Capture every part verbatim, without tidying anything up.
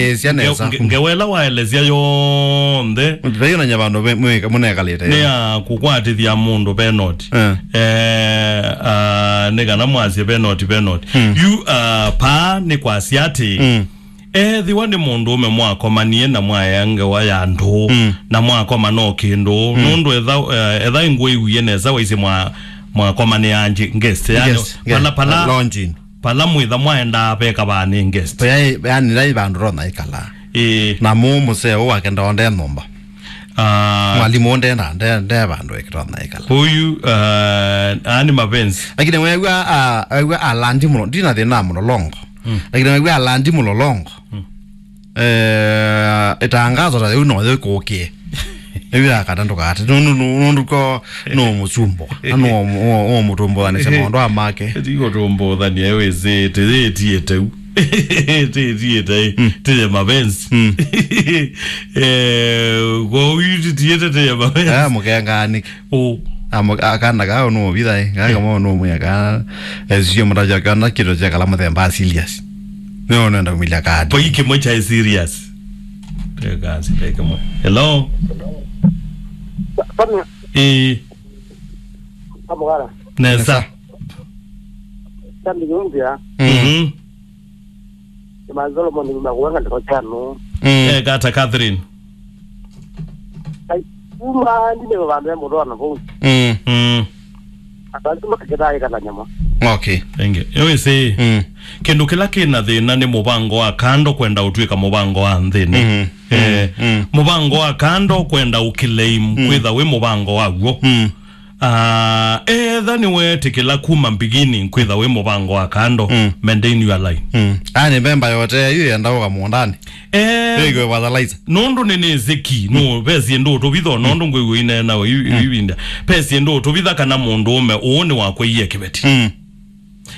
Elesya nesa. Nge- nge- ngewa ĩla waelesya yonthe Ndĩraionany'a vandũ ve- mwĩka- mũnekalĩte. Nĩ ya kũkwatĩthya mũndũ penoti. Eh. Eh, ah, nĩ kana mwasye penoti, penoti. Mm. Yu, ah, paa nĩ kwasya atĩ, mm, ethĩwa nĩ mũndũũme mwakomanie na mwaea ngewa ya ndũũ, mm, na mwakoma no kĩndũ, mm, nũndũ etha, eh, etha ngwĩwie nesa waisye mwa- mwakomanĩa angĩ guest, yani, guest, pala, yeah, pala, launching. Pala mwĩtha mwaendaa veka vaa nĩ guest. Yaani, yaani, vandũ tona ikala. Ĩĩ. Na mũ mũseo wake ndonde nyũmba. Ah. Mwalimu nde na nde nde vandũ ekĩtwa na ikala. Huyu, ah, ani mapenzi. Lakini wewe, ah, wewe alandi mũno, ndina thĩna mũlolongo. Mm. Lakini wewe alandi mũlolongo. Mm. Eh, itangazo ta yau no yĩkũkie. Ĩu ya kana ndũkate. Nũndũ, nũndũ ko no mũsumbwa. Na no mũtumbũthanĩsya maũndũ a make. Ti gũtũmbũthania, wĩsĩ, tĩyĩtie teu. Tĩyĩtie, mm, tĩye mapenzi. Mm. Eh, kwa huyu titiete tĩye mapenzi. Eh, mũkenganĩke. Ũ. Amo- akana kao no vithae, kaka mo no mweka. Ezio mtaja kana kito cha kala mũthemba serious. No nenda kumilya kadi. Poi kĩmwe cha serious. Teka si teka mo. Hello. Pamwe. Eh. Pamwe. Nesa. Tambi nyumbia. Mm. Mhm. Ni Solomon ni makuanga ndiko chano. Mm. Eh, kata Catherine. Ai, kuma ndine vandu ya mũndũ ana vau. Mm. Mm. Atantu makakĩtaa ĩkala nyama. Okay. Thank you. Yo ĩsĩ, mm, kĩndũ kĩla kĩna thĩna nĩ mũvango wa kando kwenda ũtw'ĩka mũvango wa nthĩnĩ. Mm-hmm. Eh, mm, mm, mũvango wa kando kwenda ũclaim, mm, kwĩtha wĩ mũvango waw'o. Mm. Ah, etha nĩweetĩkĩla kuma beginning kwĩtha wĩ mũvango wa kando, mm, maintain your line. Mm. Yaani, memba yote yu yenda ũka mũũndanĩ. Eh, ĩkwe fertilizer. Nũndũ nĩnĩsĩ ki, no, mm, ve syĩndũ ũtũvitha, o nũndũ, mm, ngwĩw'a ineena o yu- mm, ivinda. Ve syĩndũ ũtũvitha kana mũndũũme ũũ nĩwakwaie kĩveti. Mm.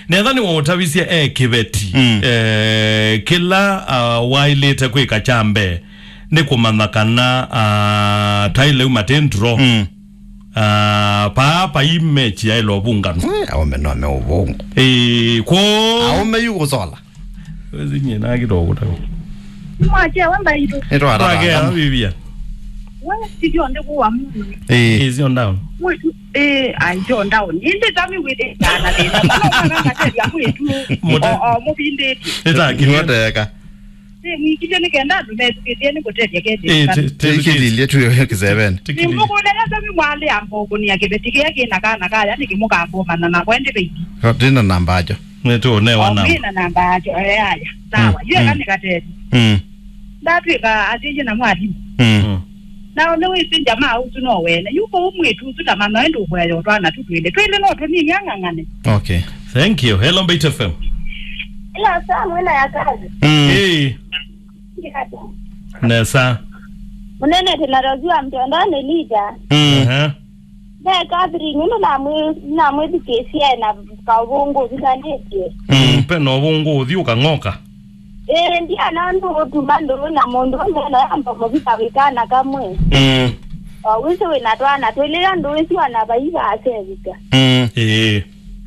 Netha nĩwaũtavisye e kĩveti, mm, eh, kĩla, ah, waĩlĩte kwĩka kya mbee nĩ kũmanya kana, ah, taĩ lĩu matĩ ndro. Mm. Ah, paa pai mechi yaĩlwa ũvũnganwa. Eh, aũme no me ũvũngũ. Ĩĩ, kwoo. Aũme yu kũsola. Wezi nyie na kĩtoko ta. Mwache wamba ito. Nĩtwatata. Twakea, Vivian. Wewe sivyo ndikuwa Mungu. Ĩĩ. Ĩĩ, sio down. Mwetu, eh, anjo down. Inde tami wete kana tena. Mwana kama tete ya mwetu. Mote- O, o, mubindeti. Nĩtakĩlye. Nĩwateka. Nĩ mwĩkĩlye nĩ kenda andũ methukĩthie nĩ kũtethya kethĩ. Eh, te- te- Ĩkĩlilye tu yo kĩseveni. Nĩ mũkũnene tami mwalĩ ambokũnia kĩveti kĩya kĩna kana kaya nĩ kĩmũkambomana na kwende veithi. Ndina namba ajo. Nĩtũũnewa namba. Ndina namba ajo, eh, aya. Sawa. Mm, yeka nĩ katete. Mm. Ndatwĩka atĩye na mwalimũ. Mm. Mm. Nao nĩwĩsĩ jamaa ũsu no wene. Yu kũu mwĩtu ũsu ta mama ĩndĩ ũkũea yo twana tu twĩlĩ. Twĩlĩ no tũnini ang'ang'ane. Okay. Thank you. Hello, Mbaitu F M. Ila saa mwena ya kazi. Mm. Hey. Nesa. Mũnene tena Rozi wa mtondoni leader. Mm. Aha. Ve Catherine, nũndũ namwĩ- namwĩthukĩĩsye na kaũvũngũ ũthikanĩtye. Mm, pe na ũvũngũ ũthi ũkang'oka. Ĩĩ, ndiana ũndũ ũtuma ndũũ na mũndũ ũmwe na yamba mũvika wĩkana kamwe. Mm. O wĩsĩ wĩna twana twĩlĩ, andũ wĩsĩ wana vaiva asevika. Mm. Ĩĩ.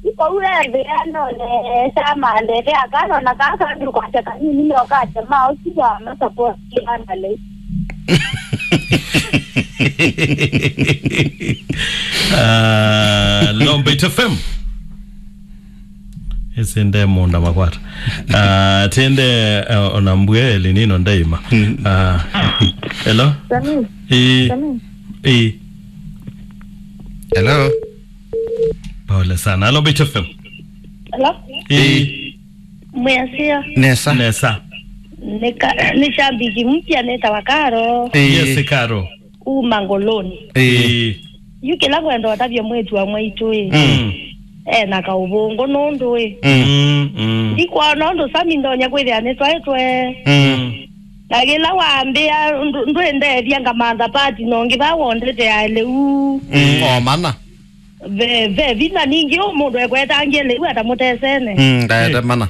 Ikoue nthĩ anone sama ndete akano na kaka andũ kwasya kanini nokatema ũsu wa masapoti andale. Ah, Lombeit F M. Ĩsĩ nde mũnda makwata. Ah, tende, eh, ona mbue linino ndaima. Mm. Ah, hello? Sami. Eh. Sami. Eh. Hello? Pole sana. Hello, Mbaitu F M. Hello? Eh. Mwĩasya. Nesa. Nesa. Nĩ ka- nĩ shabiki mpya nĩtawa Karo. Eh. Yes, Karo. Kuma Ngoloni. Eh. Eh. Yu kĩla kwenda ũtavya mwĩtu wa mwaitũ ĩ. Mm. E na kaũvũngũ nũndũ ĩ. Mm. Mm, mm. Ndikwona ũndũ Sami ndonya kwĩthĩa nĩtwaĩtwe. Mm. Na kĩla wambĩa ndũ- ndwĩndethya ngamantha pati no ngĩva wondete ya lĩu. Mm, o mana. Ve, ve vinya ningĩ ũ mũndũ ekwetangie lĩu atamũtesene. Mm, ndaete mana.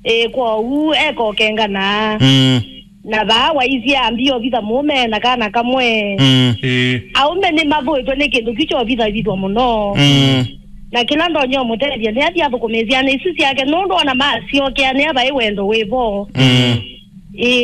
Ĩ, kwoou ekokengana. Mm. Na vaa waisye ambia ovitha mũũme na kana kamwe. Mm. Ĩ. Aũme nĩmavũĩtwe nĩ kĩndũ kyu kyovithawithwa mũno. Mm. Na kĩla ndonya ũmũtethya nĩ athi athũkũme syana isu syake nũndũ ona masyokea nĩa vaĩ wendo wĩvo. Mm. Ĩ,